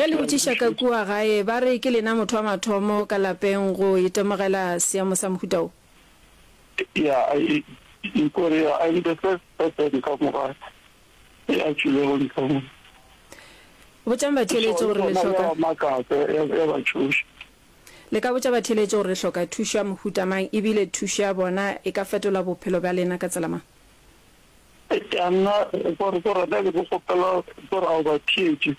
Ge le botšiša ka kua gae, ba re ke lena motho wa mathomo ka lapeng go itemogela seemo sa mohuta wo? Ya, kore ya, I'm the first person ka mo gae e a tšwilego ntle mo. Botšang batheeletši gore le hloka. Ya ba makatsa, ya ba tšhoša. Le ka botša batheeletši gore le hloka thušo ya mohuta mang ebile thušo ya bona e ka fetola bophelo bja lena ka tsela mang? Ya nna gore gore nna be ke kgopela gore ao batheetši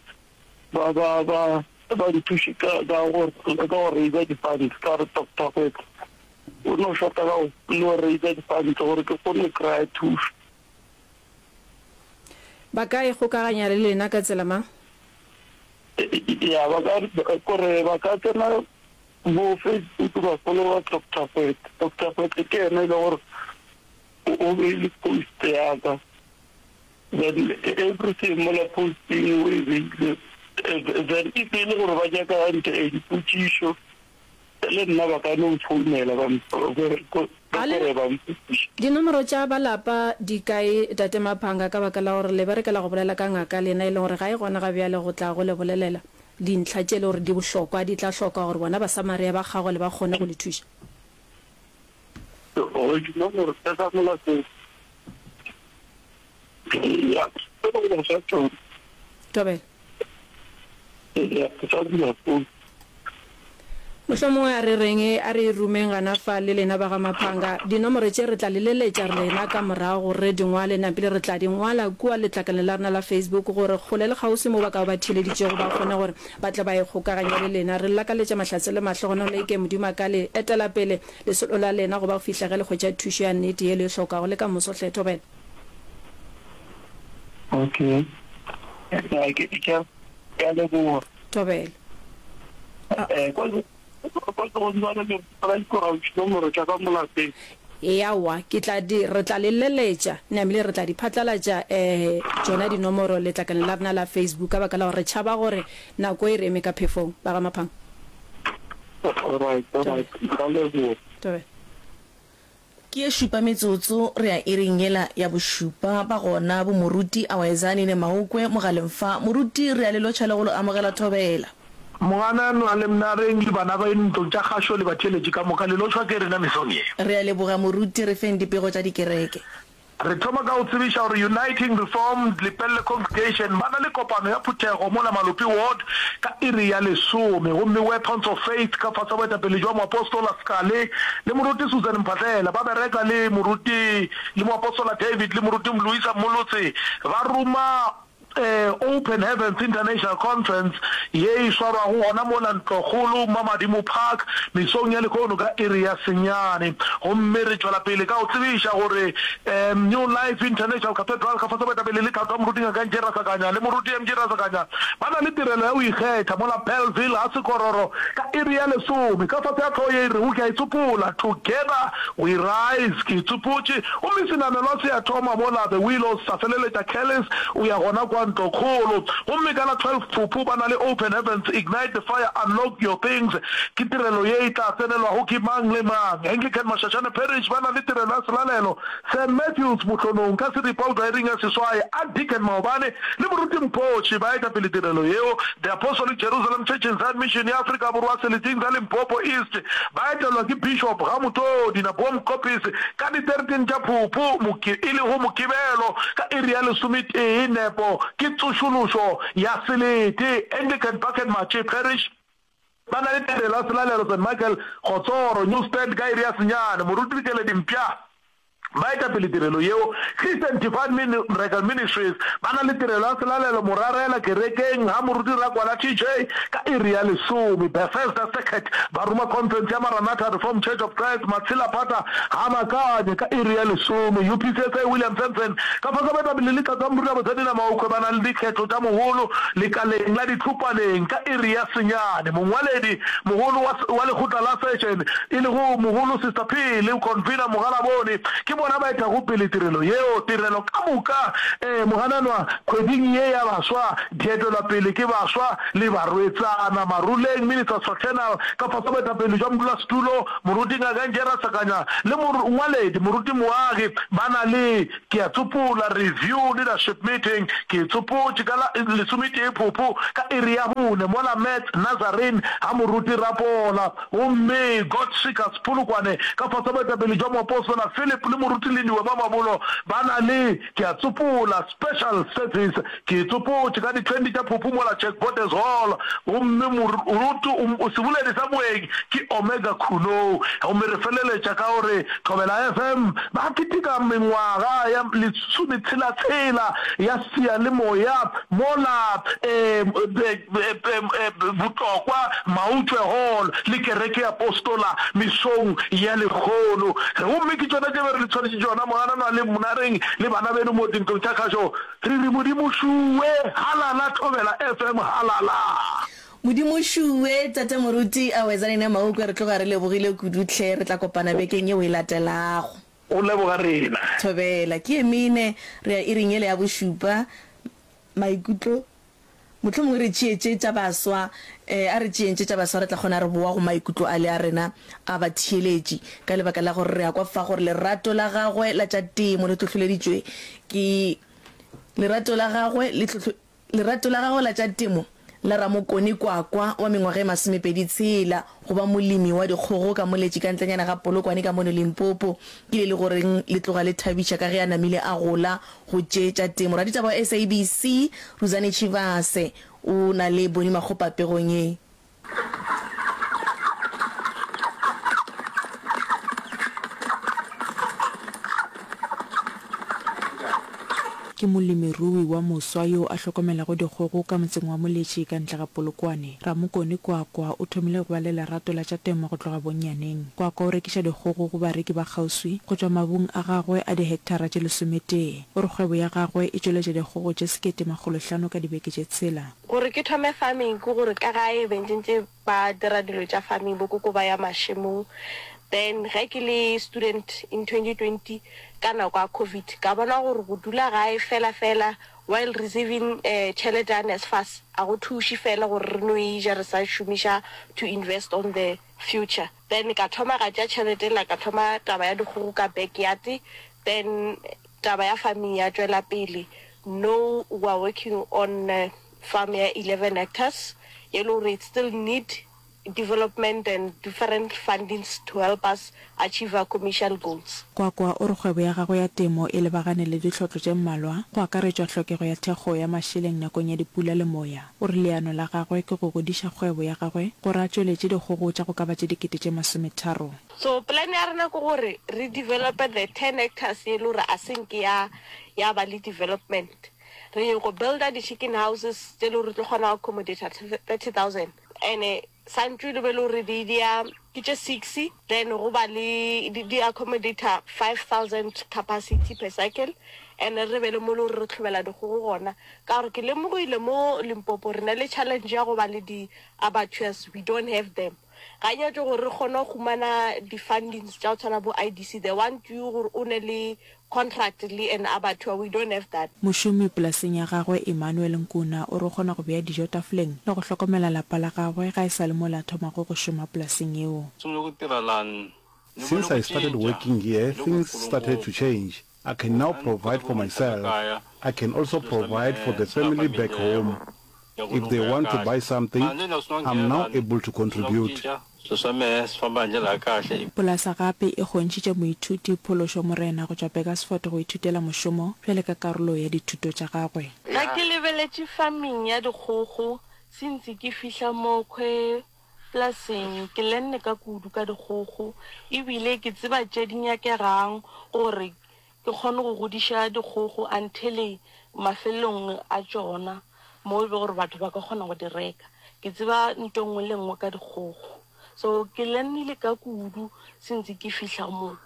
ba ba ba ba nthuše ka ka go ka go raiser di-funds ka gore Doctor Gwetla o no shota ka go no raiser di-funds gore ke kgone go kry-a thušo. Ba ka ikgokaganya le lena ka tsela mang? Ya ba ka gore ba ka tsena bo Facebook ba follower Doctor Gwetla. Doctor Gwetla ke yena e le gore O beile post ya ka then everything mola posting o e beile then if e le gore ba nyaka nte eh, dipotšišo le nna ba ka no mfounela ba gore ba mpotšiša. Dinomoro tša ba lapa di kae Tate Maphanga ka baka la gore le berekela go bolela ka ngaka lena e leng gore ga e gona ga bjale go tla go le bolelela dintlha tše e le gore di bohlokwa di tla hloka gore bona Basamaria ba kgagole ba kgone go le thuša. Gore dinomoro tša ka mo lapeng ya ke go ba fa tšona. Thobela. Ya ke sa dula phone. Mohlomongwe a re reng, a re e rumeng gana fa le lena ba ga Maphanga. Dinomoro tše re tla le leletša rena ka morago gore re di ngwale, napile re tla di ngwala kua letlakaleng la rena la Facebook gore kgole le kgauswi mo ba ka ba ba theeleditšego ba kgone gore ba tle ba ikgokaganye le lena. Re le lakaletša mahlatse le mahlogonolo eke Modimo a ka le etela pele lesolo la lena go ba go fihla ge le hwetša thušo ya nnete ye le e hlokago le ka moso hle. Thobela. Okay. Ya, ke, ke, ke a leboga. Thobela. Eh, kwa, kwa ke go dula le ba ikora dinomoro tša ka mo lapeng. Eawa, ke tla di, re tla le leletša, namile re tla di phatlalatša, eh, tšona dinomoro letlakaleng la rena la Facebook, ka baka la gore re tšhaba gore nako e re eme ka phefong. Ba ga Maphang. Alright, alright, nka leboga. Thobela. Ke ye šupa metsotso re ya iring yela ya bošupa. Ba gona bo Moruti Awaezani ne Maokwe mogaleng fa. Moruti re a le lotšha le go lo amogela Thobela. Mogananwa le Mnareng le bana ba ntlong tša kgašo le batheeletši ka moka le lotšhwa ke rena mesong ye. Re a leboga Moruti, re feng dipego tša dikereke. Re thoma ka go tsebiša gore Uniting Reformed Lepelle Congregation ba na le kopano ya phuthego mola Malope Ward ka iri ya lesome gomme Weapons of Faith ka fase ga boetapele jwa Moapostola Skale le Moruti Susan Mphahlele ba bereka le Moruti le Moapostola David le Moruti Mloisa Mmolotse ba ruma Open Heavens International Conference ye e swarwago gona mola Ntlokgolo Mamadimo Park mesong ya lehono ka iri ya senyane. Gomme re tšwela pele ka go tsebiša gore New Life International Cathedral ka fase boetapele le tlhahlo ya Moruti Ngaka NJ Rasakanya le Moruti MG Rasakanya ba na le tirelo ya go ikgetha mola Bellville ga Sekororo ka iri ya lesome ka fase ga hlogo ye e rego Ke a Itsopola, Together We Rise, Ke Itsopotše. Gomme senamelwa se a thoma mola The Willows sa feleletša Kelly's o ya gona kwa ntlokgolo. Gomme ka la 12 Phuphu ba na le Open Heavens, Ignite the Fire, Unlock Your Things. Ke tirelo ye e tla tsenelwago ke mang le mang. Anglican Mashashane Parish ba na le tirelo ya selalelo St Matthews Mohlonong ka seripa go tšwa iring ya seswai. Archdeacon Maobane le Moruti Mphoši ba eta pele tirelo yeo. The Apostolic Jerusalem Church in Zion Mission ya Afrika Borwa seleteng sa Limpopo East ba etelwa ke Bishop Gamotodi Naboom Koppies ka di 13 tša Phuphu, e lego Mokibelo ka iri ya lesometee nepo ke tsošološo ya selete. Anglican Bucket Matše Parish ba na le tirelo ya selalelo St Michael Kgotsoro, New Stand ka iri ya senyane. Moruti Dikeledi Mpša Ba eta pele tirelo yeo. Christian Divine Miracle Ministries ba na le tirelo ya selalelo Morarela kerekeng ga Moruti Rakwala TJ ka iri ya lesome. Bethesda Circuit ba ruma conference ya Maranatha Reformed Church of Christ Matshelaphata ga Makanye ka iri ya lesome. UPCSA William Sampson ka fase baetapele le Tlatsa Moruti Botshanina Maokwe ba na le dikgetho tša mogolo lekaleng la Ditlhopaneng ka iri ya senyane. Mongwaledi mogolo wa wa lekgotla la session e lego mogolo Sister P le convener Mogalabone ke. Ke bona ba etago pele tirelo yeo. Tirelo ka moka e mogananwa kgweding ye ya baswa di etelwa pele ke baswa le barwetsana. Maruleng Ministers Fraternal ka fase ga boetapele jwa modulasetulo Moruti Ngaka Njera Sakanya le mongwaledi Moruti Moagi ba na le Ke a tsopola, Review Leadership Meeting, ke e tsopotše ka la lesometee Phuphu ka iri ya bone mola Mets Nazarene ga Moruti Rapola gomme God Seekers Polokwane ka fase ga boetapele jwa Moapostola Philip le Moruti Lindiwe Mamabolo ba na le Ke a tsopola, Special Service, ke e tsopotše ka di 20 tša Phuphu mola Jack Botes Hall gomme moruti o seboledi sa moeng ke Omega Khunou gomme re feleletša ka gore Thobela FM ba keteka mengwaga ya lesometshela-tshela ya seyalemoya mola Botlokwa Mautšwe Hall le Kereke ya Apostola mesong ya lekgono. Gomme ke tšona tše be re le tshwanetše tšona, Mogananwa le Monareng le bana beno mo dintlong tša kgašo. Re re Modimo šuwe, halala Thobela FM halala. Modimo šuwe, Tate Moruti Awezanene Maukwe, re tloga re lebogile kudu hle, re tla kopana bekeng yeo e latelago. Go leboga rena. Thobela, ke ye mene, re ya iring yela ya bošupa, maikutlo, mohlomongwe re tšee tše tša baswa, eh, a re tšeeng tše tša baswa, re tla kgona re bowa go maikutlo ale a rena a batheeletši, ka lebaka la gore re a kwa fa gore lerato la gagwe la tša temo le hlohloleditšwe ke Lerato la gagwe le hlohlo, lerato la gagwe la tša temo la Ramokone Kwakwa wa mengwaga e masomepedi tshela go ba molemi wa dikgogo ka Moletši ka ntlenyana ga Polokwane ka mono Limpopo ke le le goreng le tloga le thabiša ka ge a namile a gola go tše tša temo. Raditaba wa SABC Ruzane Tshivhase o na le Boni Makgopa pegong ye. Ke molemirui wa moswa yo a hlokomelago dikgogo ka motseng wa Moletši ka ntle ga Polokwane. Ramokone Kwakwa o thomile go ba le lerato la tša temo go tloga bonnyaneng. Kwakwa o rekiša dikgogo go bareki ba kgauswi go tšwa mabung a gagwe a dihektara tše lesometee. O re kgwebo ya gagwe e tšweletša dikgogo tše 1500 ka dibeke tše tshela. Gore ke thome farming ke gore ka gae be ntše ntše ba dira dilo tša farming, bo koko ba ya mašemong. Then ge ke le student in 2020 ka nako ya covid ka bona gore go dula gae fela fela while receiving tšhelete ya NSFAS a go thuše fela gore re no e ja re sa šomiša to invest on the future. Then ka thoma ka tšea tšhelete ela ka thoma taba ya dikgogo ka backyard then taba ya farming ya tšwela pele. No we are working on farm ya 11 hectares ye le gore it still need development and different fundings to help us achieve our commercial goals. Kwakwa o re kgwebo ya gagwe ya temo e lebagane le ditlhotlo tše mmalwa, go akaretšwa hlokego ya thekgo ya mašeleng nakong ya dipula le moya. O re leano la gagwe ke go godiša kgwebo ya gagwe gore a tšweletše dikgogo tša go ka ba tše 30,000. So plan ya rena ke gore re develope the ten hectares ye le gore a se nke ya ya ba le development. Re nyoko builder di chicken houses tše le gore re tlo kgona go accommodate 30,000. Ene santšu le be le gore di di ya ke tše six then go ba le di di accommodate 5000 capacity per cycle. Ene re be le mo le gore re hlobela dikgogo gona ka gore ke lemogile mo Limpopo re na le challenge ya go ba le di abattoirs we don't have them. Ga nyatše gore re kgone go humana di fundings tša go tshwana bo IDC they want you gore o ne le contract le an abattoir we don't have that. Mošomi polaseng ya gagwe Emmanuel Nkuna o re o kgona go bea dijo tafoleng le go hlokomela lapa la gagwe ga e sa le mola a thomago go šoma polaseng yeo. Since I started working here things started to change, I can now provide for myself, I can also provide for the family back home. If they want to buy something, I'm now able to contribute. Polasa gape e kgontšhitše moithuti Phološo Morena go tšwa Burgersfort go ithutela mošomo bjale ka karolo ya dithuto tša gagwe. Ge ke lebeletše farming ya dikgogo since ke fihla mo khwe polaseng ke lenne ka kudu ka dikgogo ebile ke tseba tše di nyakegang gore Ke kgone go godiša dikgogo until mafelelong a tšona mo e be gore batho ba ka kgona go di reka. Ke tseba nto nngwe le nngwe ka dikgogo. So ke learnile ka kudu since ke fihla mo.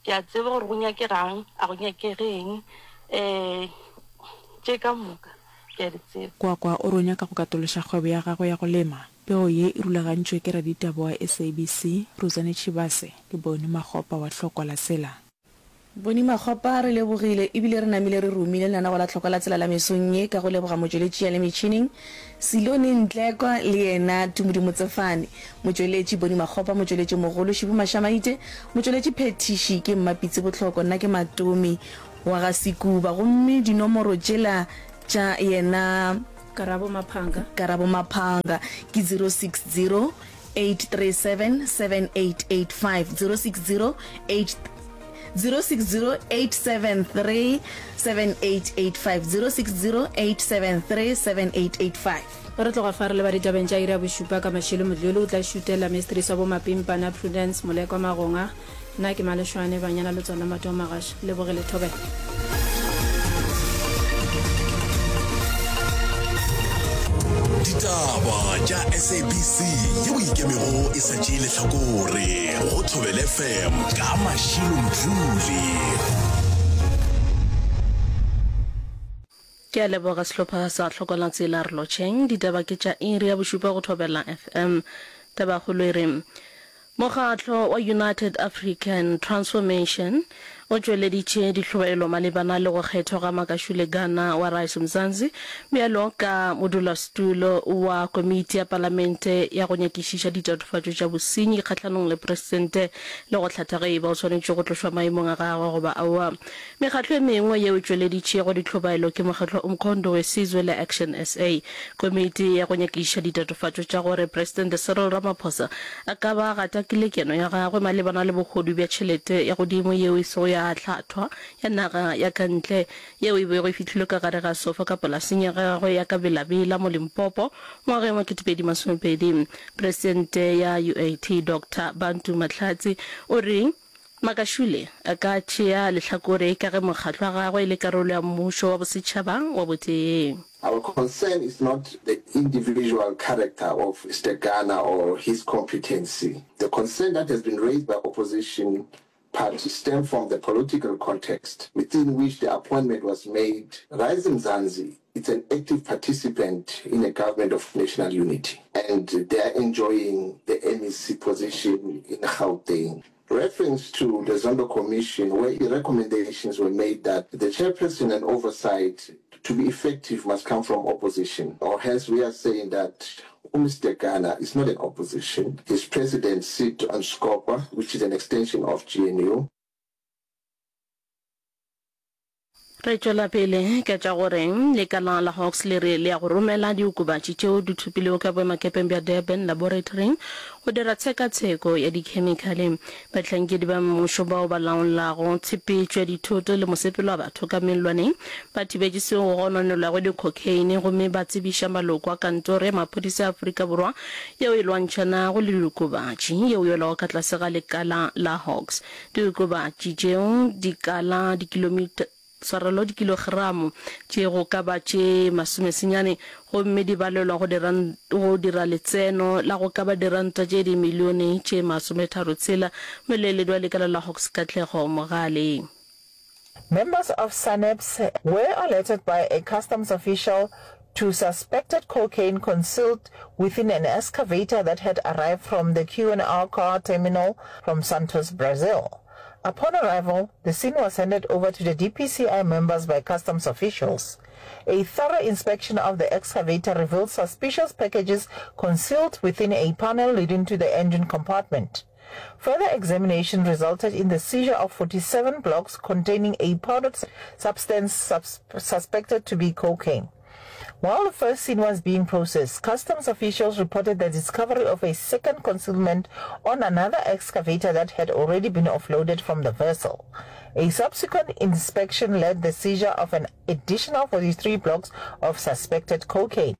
Ke a tseba gore go nyakegang, a go nyakege eng, um tše ka moka ke a di tseba. Kwakwa o re o nyaka go katološa kgwebo ya gagwe ya go lema. Pego ye e rulagantšwe ke raditaba wa SABC, Ruzane Tshivhase le Boni Makgopa wa Hlokwa la Tsela. Boni Makgopa, Re lebogile ebile re namile re romile lenanego la Tlhoko la Tsela la mesong ye ka go leboga motšweletši ya le metšhineng, Silone Ntlekwa le yena Tumudi Motsefane, motšweletši Boni Makgopa, motšweletši mogolo Šibu Mashamaite, motšweletši phethiši ke Mmapitsi Bohloko, nna ke Matomi wa ga Sekuba gomme dinomoro tšela tša yena Karabo Maphanga. Karabo Maphanga ke 060 837 7885 060 8 060 873 7885 060 873 7885. Ge re tloga fa re leba ditabeng tša iri ya bošupa ka Mashilo Modlolo o tla šutela Mistress wa Bomapimpana Prudence Molekwa Magonga. Nna ke Maleshwane Banyana le tsona Mateo Magaša. Lebogile Thobela. Ditaba tša SABC yeo e ikemego e sa tšee lehlakore go Thobela FM ka Mashilo Mdluli. Ke a leboga sehlopha sa Tlhokolatsela re lotšheng. Ditaba ke tša iri ya bošupa go Thobela FM. Tabakgolo e re Mokgatlo wa United African Transformation o tšweleditše dihlobaelo malebana le go kgethwa ga Makashule Gana wa Rise Mzansi bjalo ka modulasetulo wa komiti ya palamente ya go nyakišiša ditatofatšo tša bosenyi kgahlanong le presitente le go hlatha ge e ba o swanetše go tlošwa maemong a gagwe goba aowa. Mekgatlo e mengwe yeo e tšweleditšego ditlhobaelo ke mokgatlo wa Umkhonto we Sizwe le Action SA. Komiti ya go nyakišiša ditatofatšo tša gore Presidente Cyril Ramaphosa a ka ba a gatakile keno ya gagwe malebana le bohodu bja tšhelete ya godimo yeo e sego ya hlathwa ya naga ya ka ntle yeo e bego e fihlilwe ka gare ga sofa ka polaseng ya gagwe ya ka Bela-Bela mo Limpopo ngwageng wa 2020. Presidente ya UAT Doctor Bantu Mahlatsi o re Makashule a ka tšea lehlakore ka ge mokgatlo wa gagwe e le karolo ya mmušo wa bosetšhaba wa botee. Our concern is not the individual character of Stegana or his competency. The concern that has been raised by opposition parties stem from the political context within which the appointment was made. Rise Mzansi is an active participant in a government of national unity and they are enjoying the MEC position in Gauteng. Reference to the Zondo Commission where recommendations were made that the chairperson and oversight to be effective must come from opposition. Or hence we are saying that Mr. Ghana is not an opposition. His president sit on SCOPA, which is an extension of GNU. Re tšwela pele ka tša gore lekala la Hawks le re le ya go romela diokobatši tšeo di thopilwego ka boemakepeng bja Durban Laboratory go dira tshekatsheko ya dikhemikhale. Bahlankedi ba mmušo bao ba laolago tshepetšo ya dithoto le mosepelo wa batho ka mellwaneng ba thibetše seo go gononelwago dikhokheine gomme ba tsebiša maloko a kantoro ya maphodisa a Afrika Borwa yeo e lwantšhanago le diokobatši yeo e welago ka tlase ga lekala la Hawks. Diokobatši tšeo di kala dikilomita, tshwarelo, dikilogramo tše go ka ba tše masomesenyane gomme di balelwa go dira, go dira letseno la go ka ba diranta tše dimilione tše masometharotshela, Moleeledi wa lekala la Hawks Katlego Mogale. Members of SANEPS were alerted by a customs official to suspected cocaine concealed within an excavator that had arrived from the Q&R car terminal from Santos, Brazil. Upon arrival, the scene was handed over to the DPCI members by customs officials. A thorough inspection of the excavator revealed suspicious packages concealed within a panel leading to the engine compartment. Further examination resulted in the seizure of 47 blocks containing a powdered substance suspected to be cocaine. While the first scene was being processed, customs officials reported the discovery of a second concealment on another excavator that had already been offloaded from the vessel. A subsequent inspection led the seizure of an additional 43 blocks of suspected cocaine.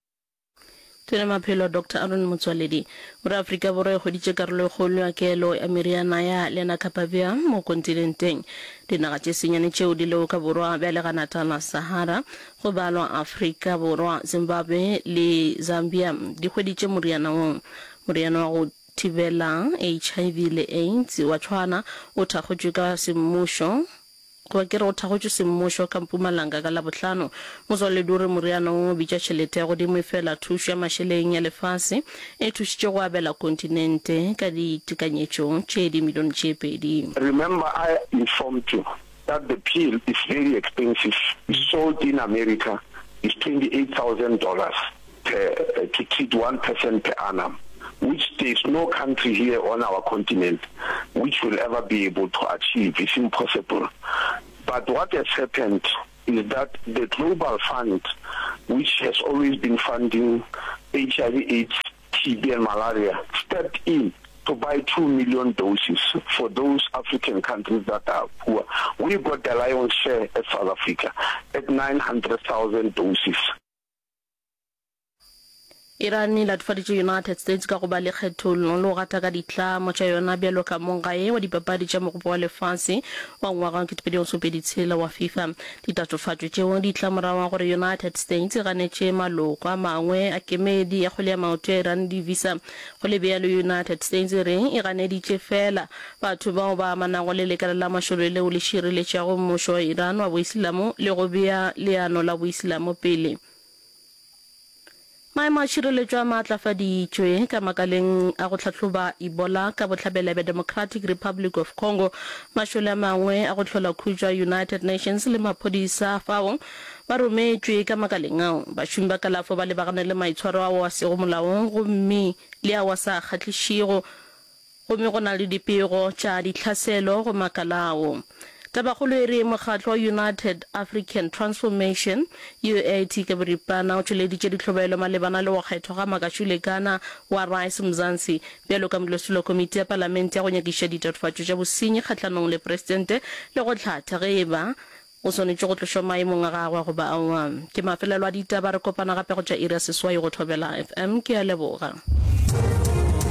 Tona Maphelo Doctor Aaron Motsoaledi o re Afrika Borwa e hweditše karolo e kgolo ya kelo ya meriana ya Lenacapavir mo kontinenteng. Dinaga tše senyane tšeo di lego ka borwa bja leganata la Sahara, go balwa Afrika Borwa, Zimbabwe le Zambia, di hweditše moriana wo. Moriana wa go thibela HIV le AIDS wa tšhwana o thakgotšwe ka semmušo Goba ke re o thakgotšwe semmušo ka Mpumalanga ka Labohlano. Motswaledi o re moriana wo o bitša tšhelete ya godimo efela thušo ya mašeleng ya lefase e thušitše go abela kontinente ka ditekanyetšo tše dimilione tše pedi. Remember I informed you. that the pill is very expensive, it's sold in America is $28,000 per, to treat one person per annum, which there is no country here on our continent which will ever be able to achieve, it's impossible. But what has happened is that the Global Fund, which has always been funding HIV AIDS, TB and malaria, stepped in to buy 2 million doses for those African countries that are poor. We got the lion's share at South Africa at 900,000 doses. Iran e latofaditše United States ka go ba le kgethollo le go gata ka ditlamo tša yona bjalo ka monggae wa dipapadi tša Mogopo wa Lefase wa ngwaga wa 2026 wa FIFA. Ditatofatšo tšeo di tla morago ga gore United States e ganetše maloko a mangwe a kemedi ya kgwele ya maoto ya Iran di-visa. Go le bjalo, United States e re e ganeditše feela batho bao ba amanago le lekala la mašole leo le šireletšago mmušo wa Iran wa Boislamo le go bea leano la Boislamo pele. Maemo a tšhireletšo a maatlafaditšwe ka makaleng a go hlahloba Ebola ka bohlabela bja Democratic Republic of Congo. Mašole a mangwe a go hlola khutšo a United Nations le maphodisa a fao ba rometšwe ka makaleng ao. Bašomi ba kalafo ba lebagane le maitshwaro ao a sego molaong gomme le ao a sa kgahlišego. Gomme go na le dipego tša ditlhaselo go makala ao. Tabakgolo e re mokgatlo wa United African Transformation, UAT ka boripana, o tšweleditše ditlhobaelo malebana le go kgethwa ga Makashule Gana wa Rise Mzansi bjalo ka modulasetulo wa komiti ya palamente ya go nyakišiša ditatofatšo tša bosenyi kgahlanong le presidente le go hlatha ge e ba o swanetše go tlošwa maemong a gagwe goba aowa. Ke mafelelo a ditaba, re kopana gape go tša iri ya seswai go Thobela FM. Ke a leboga.